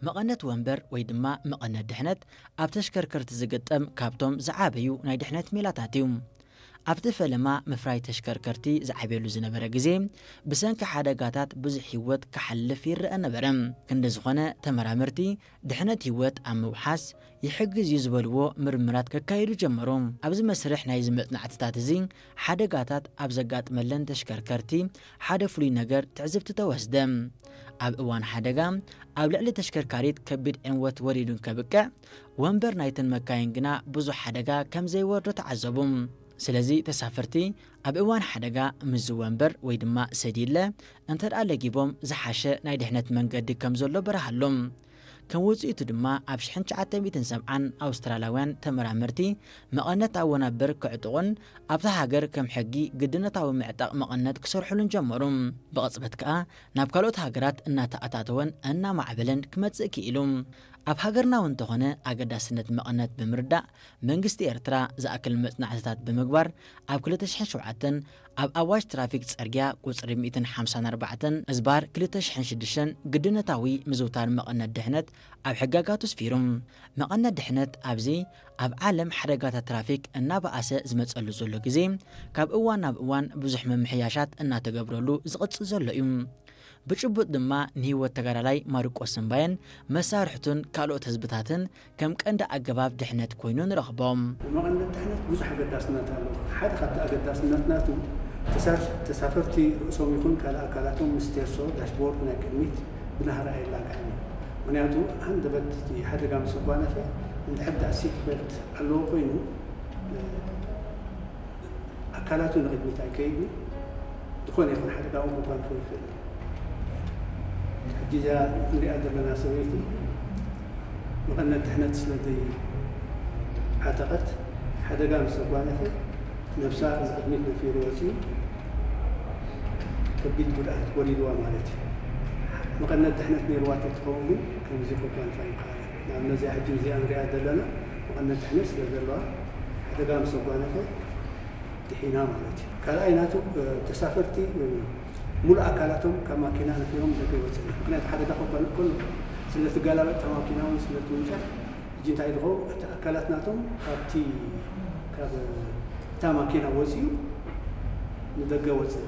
መቐነት ወንበር ወይ ድማ መቐነት ድሕነት ኣብ ተሽከርከርቲ ዝግጠም ካብቶም ዝዓበዩ ናይ ድሕነት ሜላታት እዩ። ኣብቲ ፈለማ ምፍራይ ተሽከርከርቲ ዝዓብየሉ ዝነበረ ግዜ፣ ብሰንኪ ሓደጋታት ብዙሕ ህይወት ክሓልፍ ይረአ ነበረ። ክንዲ ዝኾነ፣ ተመራመርቲ ድሕነት ህይወት ኣብ ምውሓስ ይሕግዝ እዩ ዝበልዎ ምርምራት ከካይዱ ጀመሩ። ኣብዚ መስርሕ ናይዚ መጽናዕትታት እዚ፣ ሓደጋታት ኣብ ዘጋጥመለን ተሽከርከርቲ ሓደ ፍሉይ ነገር ትዕዝብቲ ተወስደ። ኣብ እዋን ሓደጋ፣ ኣብ ልዕሊ ተሽከርካሪት ከቢድ ዕንወት ወሪዱ እንከብቅዕ፣ ወንበር ናይተን መካይን ግና ብዙሕ ሓደጋ ከም ዘይወርዶ ተዓዘቡ። ስለዚ ተሳፈርቲ ኣብ እዋን ሓደጋ ምስዚ ወንበር ወይ ድማ ሰዲለ እንተ ደኣ ለጊቦም ዝሓሸ ናይ ድሕነት መንገዲ ከም ዘሎ በርሃሎም። ከም ውጽኢቱ ድማ ኣብ ሽሕን ትሽዓተ ሚእትን ሰብዓን ኣውስትራልያውያን ተመራመርቲ መቐነት ኣብ ወናብር ክዕጥቑን ኣብታ ሃገር ከም ሕጊ ግድነታዊ ምዕጣቕ መቐነት ክሰርሑሉን ጀመሩ። ብቕጽበት ከኣ ናብ ካልኦት ሃገራት እናተኣታተወን እናማዕበለን ክመጽእ ክኢሉ። ኣብ ሃገርና እውን እንተኾነ ኣገዳስነት መቐነት ብምርዳእ መንግስቲ ኤርትራ ዝኣክል መጽናዕትታት ብምግባር ኣብ ክልተ ሽሕን ሸውዓተን ኣብ ኣዋጅ ትራፊክ ጽርግያ ቁጽሪ ሚእትን ሓምሳን ኣርባዕተን እዝባር ክልተ ሽሕን ሽዱሽተን ግድነታዊ ምዝውታር መቐነት ድሕነት ኣብ ሕጋጋቱ ኣስፊሩ። መቐነት ድሕነት ኣብዚ ኣብ ዓለም ሓደጋታት ትራፊክ እናበኣሰ ዝመጸሉ ዘሎ ግዜ፣ ካብ እዋን ናብ እዋን ብዙሕ ምምሕያሻት እናተገብረሉ ዝቕጽል ዘሎ እዩ። ብጭቡጥ ድማ ንህይወት ተጋዳላይ ማርቆስ እምባየን መሳርሕቱን ካልኦት ህዝብታትን ከም ቀንዲ ኣገባብ ድሕነት ኮይኑ ንረኽቦ። መቐነት ድሕነት ብዙሕ ኣገዳስነት ኣለዎ። ሓደ ካብቲ ኣገዳስነት ናቱ ተሳፍ-፣ ተሳፈርቲ ርእሶም ይኹን ካልእ ኣካላቶም ምስ ቴርሶ ዳሽቦርድ ናይ ቅድሚት ብናህሪ ኣይላጋዕን እዩ። ምኽንያቱ ሃንደበት እቲ ሓደጋ ምስ ኣጓነፈ እንድሕር ደኣ ሲት ቤልት ኣለዎ ኮይኑ፣ ኣካላቱ ንቕድሚት ኣይከይድን። ዝኾነ ይኹን ሓደጋ እውን ከጓንፎ ይኽእል። ሕጂ እዚኣ ንሪኣ ዘለና ሰበይቲ መቐነት ድሕነት ስለ ዘይዓጠቐት፣ ሓደጋ ምስ ኣጓነፈ ነብሳ ንቕድሚት ነፊሩ ወፂኡ ከቢድ ጉድኣት ወሪድዋ ማለት እዩ። መቐነት ድሕነት ነይርዋ ተትኸውን ግን ከምዚ ከጓንፋ ይከኣል። ንኣብነት እዚኣ ሕጂ እዚኣ ንሪኣ ዘለና መቐነት ድሕነት ስለ ዘለዋ ሓደጋ ምስ ኣጓነፈ ድሒና ማለት እዩ። ካልኣይ ናቱ፣ እ፣ ተሳፈርቲ፣ እ፣ ሙሉእ ኣካላቶም ካብ ማኪና ነፊሮም ደገ ይወፅእ። ምኽንያቱ ሓደጋ ከጓንፍ ከሎ ስለ ትገላበጥ እታ ማኪና እውን ስለ ትውንጨፍ፣ ሕጂ እንታይ ዝኸውን እቲ ኣካላት ናቶም ካብቲ፣ ካብ እታ ማኪና ወፂኡ ንደገ ወፅእ።